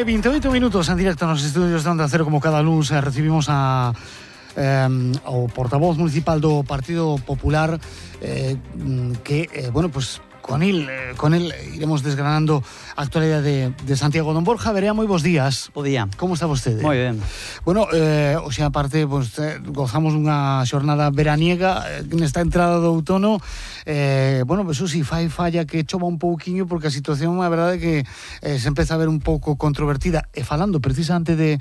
28 minutos en directo nos estudios de Onda Cero, como cada lunes recibimos ao portavoz municipal do Partido Popular bueno, pues con él iremos desgranando a actualidad de Santiago. Don Borja Verea, moi bons días. Bo día. Como está vostede? Moi ben. Bueno, o sea, aparte, pues, gozamos unha xornada veraniega nesta entrada do outono. Bueno, eso sí, falla que chova un pouquiño, porque a situación, a verdade, que se empeza a ver un pouco controvertida. E falando precisamente de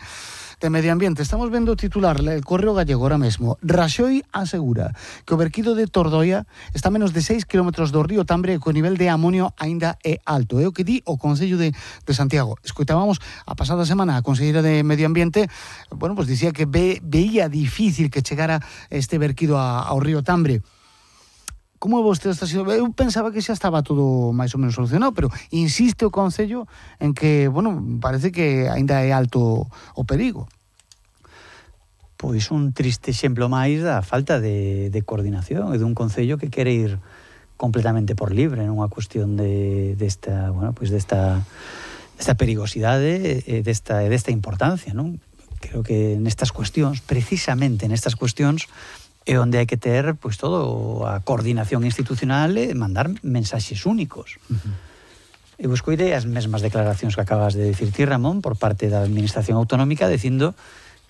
medio ambiente, estamos vendo o titular, el Correo Gallego ahora mesmo. Raxoi asegura que o verquido de Tordoia está a menos de 6 km do río Tambre e que o nivel de amonio aínda é alto. É o que di o Concello de Santiago. Escoitábamos a pasada semana a Conselleira de Medio Ambiente, bueno, pues dicía que veía difícil que chegara este verquido ao río Tambre. Como é vostede esta situación? Eu pensaba que xa estaba todo máis ou menos solucionado, pero insiste o Concello en que, bueno, parece que aínda é alto o perigo. Pois un triste exemplo máis da falta de coordinación e dun Concello que quere ir completamente por libre nunha cuestión desta perigosidade e desta importancia, non? Creo que nestas cuestións, precisamente nestas cuestións, é onde hai que ter, pois, todo a coordinación institucional e mandar mensaxes únicos. Eu escoitei as mesmas declaracións que acabas de dicir ti, Ramón, por parte da Administración Autonómica, dicindo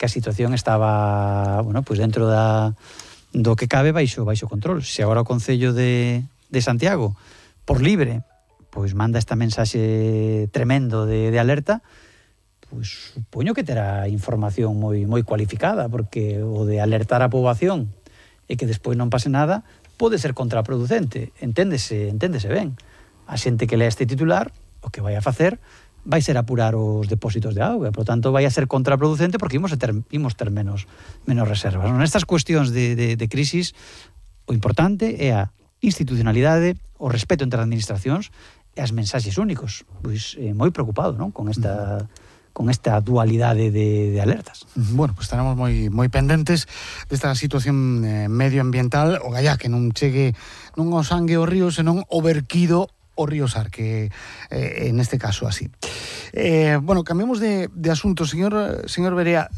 que a situación estaba, bueno, pois dentro do que cabe baixo control. Se agora o Concello de Santiago, por libre, pois manda esta mensaxe tremendo de alerta, pois supoño que terá información moi cualificada, porque o de alertar a poboación e que despois non pase nada pode ser contraproducente. Enténdese ben. A xente que lea este titular, o que vai a facer vai ser apurar os depósitos de auga, por tanto vai a ser contraproducente, porque imos ter menos reservas. Nestas cuestións de crisis, o importante é a institucionalidade, o respeto entre as administracións e as mensaxes únicos. Pois moi preocupado, non? Con esta dualidade de alertas. Bueno, pues estaremos moi pendentes desta situación medioambiental, o gallá que non chegue non o sangue ao río, senón o verquido o río Sar, que neste caso así. Bueno, cambiemos de asunto, señor Verea.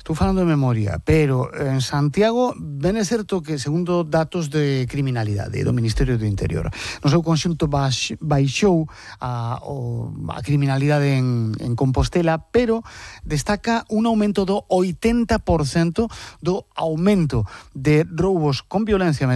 Estou falando de memoria, pero en Santiago ben é certo que, segundo datos de criminalidade do Ministerio do Interior, no seu conxunto baixou a criminalidade en Compostela, pero destaca un aumento do 80% do aumento de roubos con violencia mesmo